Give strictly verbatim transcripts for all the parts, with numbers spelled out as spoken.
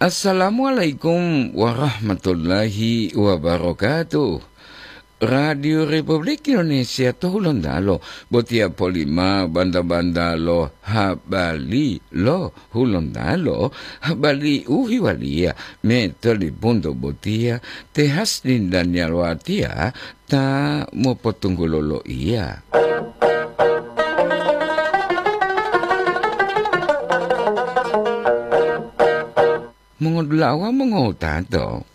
Assalamualaikum warahmatullahi wabarakatuh. Radio Republik Indonesia to Hulontalo, botiya polima banda-banda lo habari lo Hulontalo, habari u hiwaliya me tolipunto botiya, te Hasdin Daniel Watiya ta mopotunggulo loiya. Mongodula'a wawu mongowutato,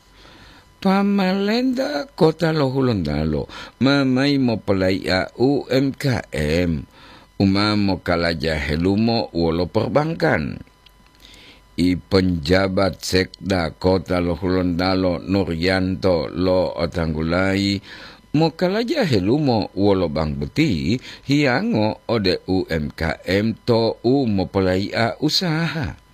pamalenta kota lo Hulontalo ma mayi mopolai'a U M K M u ma mokalaja helumo wolo perbankan. I penjabat sekda kota lo Hulontalo Nurianto lo'otanggulayi mokalaja helumo wolo bank boti hiyango ode U M K M to u mopolai'a usaha.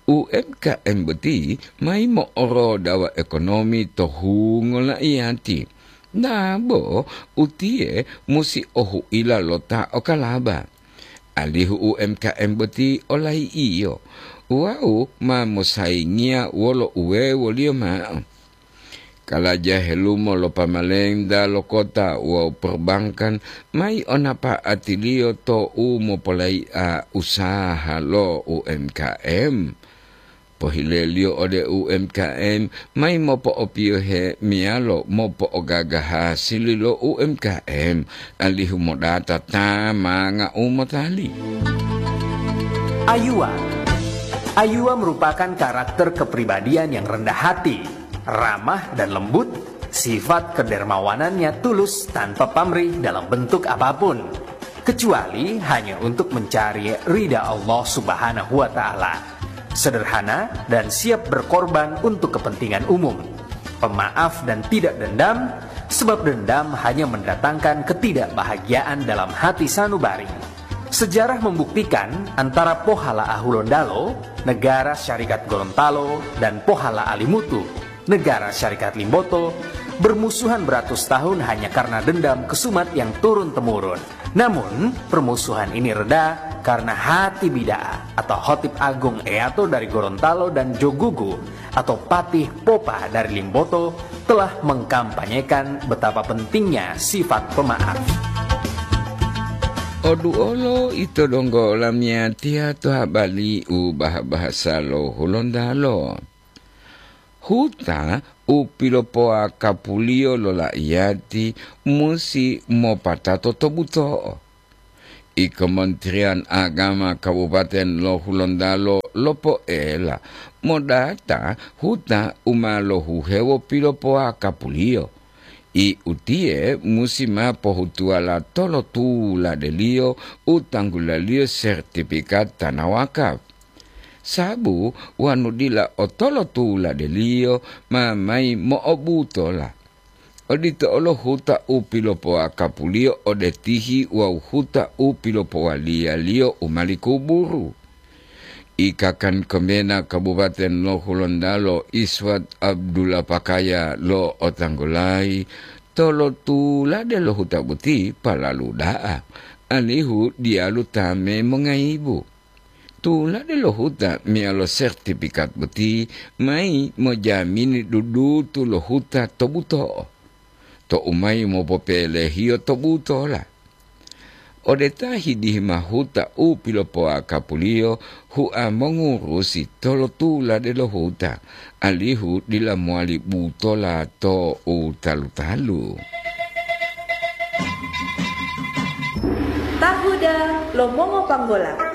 U M K M boti mayi mo'orodawa ekonomi to hungo la'iyati. Dabo utiye musi ohu'ila lo ta okalaba, alihu U M K M boti olayi'iyo wawu ma mosayingiya wolo uwewoliyo ma'o. Kalaja helumo lo pamalenta lo kota wawu perbankan mayi o napa'atiliyo to u mopolai'a usaha lo U M K M. Pohileliyo ode U M K M mayi mopo'opiyohe meyalo mopo'ogaga hasili lo U M K M, alihu modata ta manga u motali. Ayuwa. Ayuwa merupakan karakter kepribadian yang rendah hati, ramah dan lembut, sifat kedermawanannya tulus tanpa pamrih dalam bentuk apapun, kecuali hanya untuk mencari ridha Allah Subhanahu wa Ta'ala. Sederhana dan siap berkorban untuk kepentingan umum. Pemaaf dan tidak dendam, sebab dendam hanya mendatangkan ketidakbahagiaan dalam hati sanubari. Sejarah membuktikan antara Pohala Ahulondalo, Negara Syarikat Gorontalo, dan Pohala Alimutu, Negara Syarikat Limboto, bermusuhan beratus tahun hanya karena dendam kesumat yang turun-temurun. Namun, permusuhan ini reda karena hati bida'a atau Khotib Agung Eyato dari Gorontalo dan Jogugu atau Patih Popa dari Limboto telah mengkampanyekan betapa pentingnya sifat pemaaf. Oduolo ito donggo olamiyatiya to habari u bah-bahasa lo Hulontalo. Huta u pilopoakapuliyo lo la'iyati musi mopatato to buto'o. I Kementerian Agama Kabupaten lo Hulontalo lopoela modata huta u ma lohuhewo pilopoakapuliyo. I utiye musi ma pohutuwala tolotuladeliyo u tanggulaliyo sertifikat tanah wakaf. Sabu wonu dila otolotuladeliyo ma mayi mo'obutola. Odito olo huta u pilopoakapuliyo ode tihi wawu huta u pilopowaliyaliyo u mali kuburu. I Kakan Komena Kabupaten lo Hulontalo Iswat Abdullah Pakaya lo'otanggulayi tolotulade lo huta boti palalu da'a, alihu diyalu ta me mongayibu. Tulade lo huta meyalo sertifikat boti mayi mojamini dudutu lo huta to buto'o, to u mayi mopopelehiyo to butola. Ode ta hidihima huta u pilopoakapuliyo hua mongurusi tolotulade lo huta, alihu dila mowali butola to u talu-talu. Tahuda lo mongopanggola.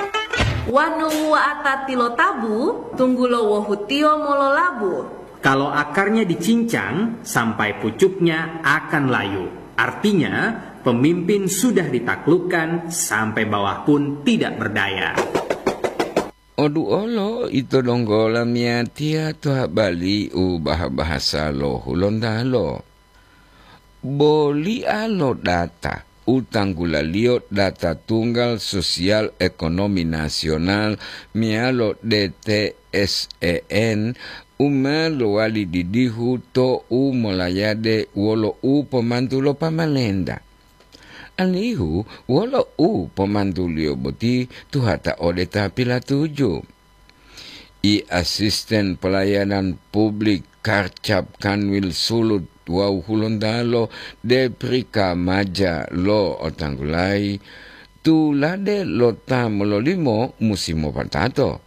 Wanu wuwa'ata tilotabu, tunggulo wohutiyo mololabu. Kalau akarnya dicincang, sampai pucuknya akan layu. Artinya, pemimpin sudah ditaklukkan, sampai bawah pun tidak berdaya. Oduolo ito donggo lamiyatiya to habari u bah-bahasa lo Hulontalo. Boli'a lo data u tanggulaliyo data tunggal sosial ekonomi nasional meyalo D T S E N u ma lowali didihu to u molayade wolo u pomantu lo pamalenta. Alihu wolo u pomantuliyo boti tuhata ode ta pilatuju. I asisten pelayanan publik Karcap Kanwil Sulut wawu Hulontalo Deprika Maja lo Otanggulayi, tulade lo ta mololimo musi mopatato,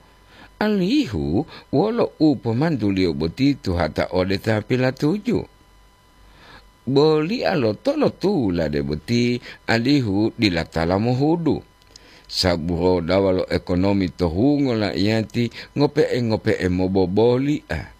alihu wolo u pomantuliyo boti tuhata ode ta pilatuju. Bolia lo tolotulade boti, alihu dila tala mohudu. Saburodawa lo ekonomi to hungo laiyati ngope'e-ngope'e mobobolia.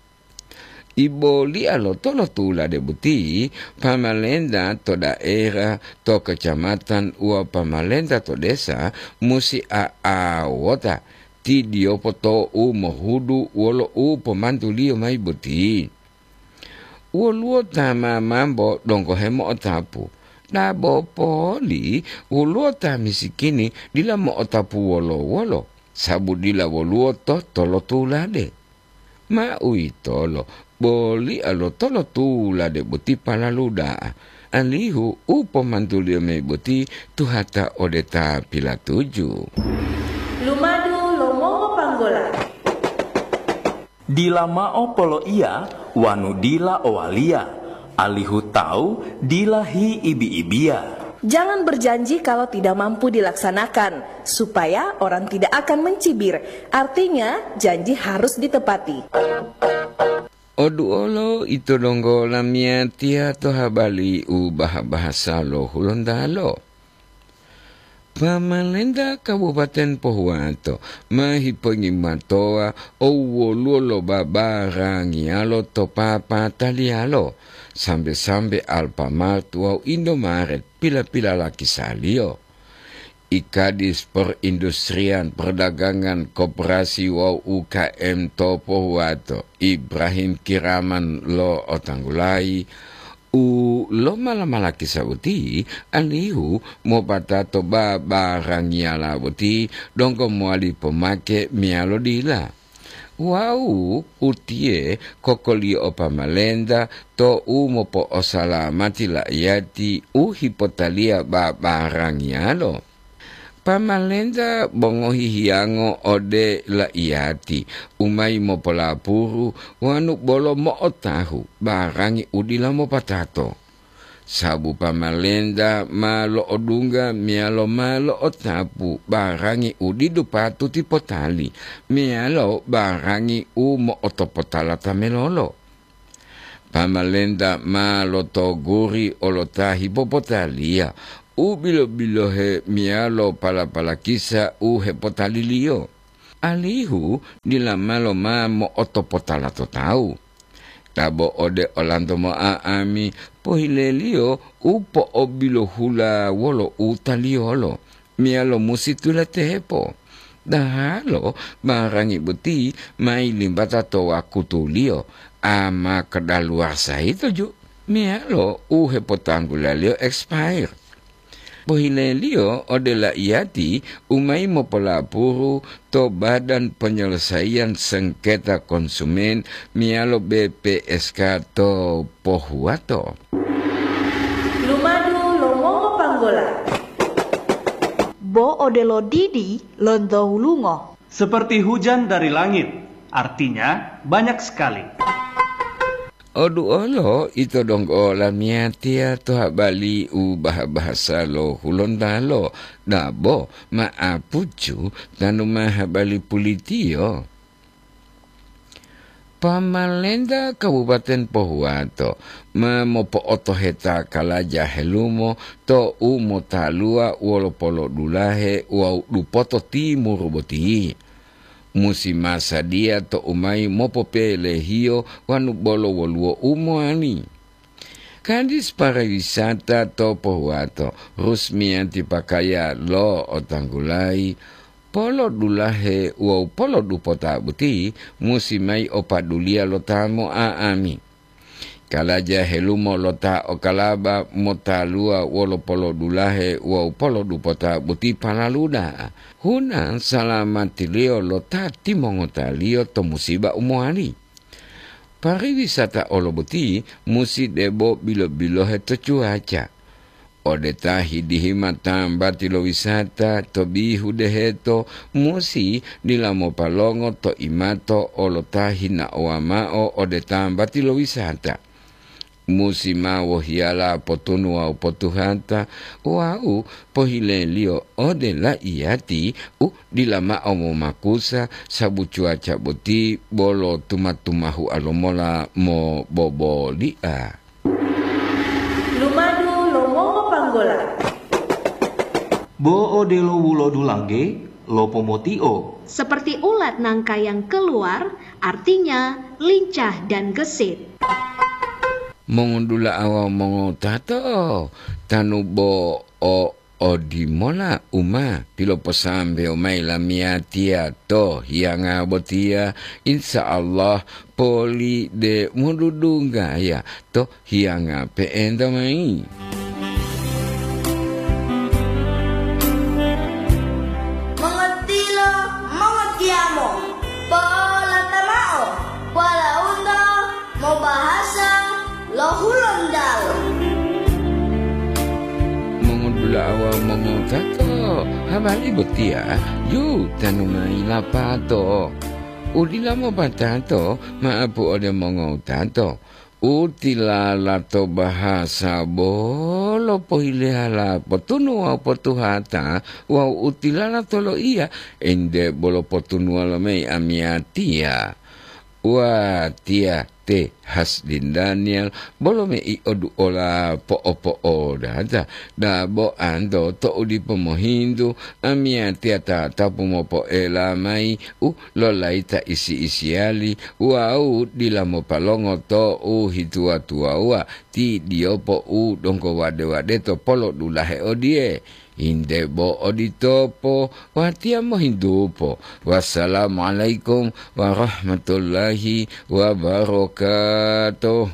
Ibolia lo tolotulade boti, pamalenta to daerah, to kecamatan, wawu pamalenta to desa musi a'awota tidiyopo to u mohudu wolo u pomantuliyo mayi boti. Woluwo ta mamambo donggo hemo'otapu, dabo poli woluwo ta misikini dila mo'otapu wolo-wolo, sabu dila woluwo to tolotulade. Ma uwitolo, bolia lo tolotulade boti palalu da'a, alihu u pomantuliyo mayi boti tuhata ode ta pilatuju. Lumadu lo mongopanggola. Dila mao poloiya wanu dila owaliya, alihu tawu dila hiibi-ibiya. Jangan berjanji kalau tidak mampu dilaksanakan, supaya orang tidak akan mencibir. Artinya, janji harus ditepati. Oduolo ito donggo lamiyatiya to habali u baha-bahasa lo Hulontalo. Pamalenta Kabupaten Pohuwato ma hipongimatowa owoluwo lo babarangiyalo to papataliyalo, sambe-sambe Alfamart wawu Indomaret pila-pila lakisaliyo. I Kadis Perindustrian, Perdagangan, Koperasi wawu U K M to Pohuwato, Ibrahim Kiraman lo Otanggulayi, u lomala-malakisa boti, alihu mopatato babarangiyala boti donggo mowali pomake meyalo dila. Wawu utiye kokoliyo o pamalenta to u mopo'osalamati la'iyati u hipotaliya babarangiyalo. Pamalenta bo ngohihiyango ode la'iyati u mayi mopolapuru wanu bolo mo'otahu barangi u dila mopatato. Sabu pamalenta ma lo'odungga meyalo ma lo'otapu barangi u didu patuti potali meyalo barangi u mo'otopotala ta melolo. Pamalenta ma lotoguri olo ta hipopotaliya u bilo-bilohe meyalo pala-palakisa u hepotaliliyo, alihu dila malo ma mo'otopotala to tawu. Dabo ode olanto mo'a'ami, pohileliyo u po'obilohula wolo utaliyolo, meyalo musi tulatepo. Dahalo barangi boti ma yilimbata to wakutuliyo, a ma kadaluwarsa yito ju, meyalo u hepotanggulaliyo expire. Pohileliyo ode la'iyati u mayi mopolapuru to Badan Penyelesaian Sengketa Konsumen meyalo B P S K to Pohuwato. Lumadu lo mongopanggola. Bo odelo didi lonto hulungo. Seperti hujan dari langit, artinya banyak sekali. Oduolo ito donggo lamiyatiya to habali u baha-bahasa lo Hulontalo, dabo ma'apucu tanu ma habali pulitiyo. Pamalenta Kabupaten Pohuwato ma mopo'otoheta kalaja helumo to u motaluwa wolo polodulahe wawu dupoto timuru boti. Musi masadiya to u mayi mopopelehiyo wanu bolo woluwo u mowali. Kadis Pariwisata to Pohuwato, Rusmiyanti Pakaya lo Otanggulayi, polodulahe wawu polodupota boti musi mayi o paduliya lo ta mo'a'ami. Kalaja helumo lo ta okalaba motaluwa wolo polodulahe wawu polodupota boti palalu da'a, huna salamatiliyo lo ta timongotaliyo to musiba u mowali. Pariwisata olo boti musi debo bilo-bilohe to cuaca. ode ta hidihi ma tambati lo wisata to bihu deheto, musi dila mopalongo to imato olo ta hinaowa ma'o ode tambati lo wisata. Musi ma wohiyala potunu wawu potuhata wawu pohileliyo ode laiyati u dila ma'o momakusa, sabu cuaca boti bolo tuma-tumahua lomola moboboli'a. Lumadu lo mongopanggola. Bo odelo wulodu langge, lopomotio. Seperti ulat nangka yang keluar, artinya lincah dan gesit. Mongondula'awa mongotato, tanu bo o odimola u ma piloposambewo mayi lamiyatiya to hiyanga botiya, insya Allah poli de modudunggaya to hiyanga pe'enta mayi. Mongotilo, mongotiyamo, polata mao, walaundo mobahasa lo Hulontalo. Mongodula'a wawu mongotato, habari botiya yu tanu mayi lapato. Udila mopatato, maapu ode mongotato. U tilala to bahasa bolo pohilehalapo tunu wawu potuhata wawu u tilala to loiya, ente bolo potunuwa lomayi amiyatiya. Watiya te Hasdin Daniel bolo mei oduola po'opo'odata, dabo anto to'u dipo mohintu, amiyatiya tatapu mopoela mayi u lolayita isi-isiyali wawu dila mopalongo to u hituwa-tuwawuwa ti diyopo u donggo wade-wadeto polodulahe odiye. Inde bo oditopo, watiya mohintupo. Wassalamualaikum warahmatullahi wabarakatuh.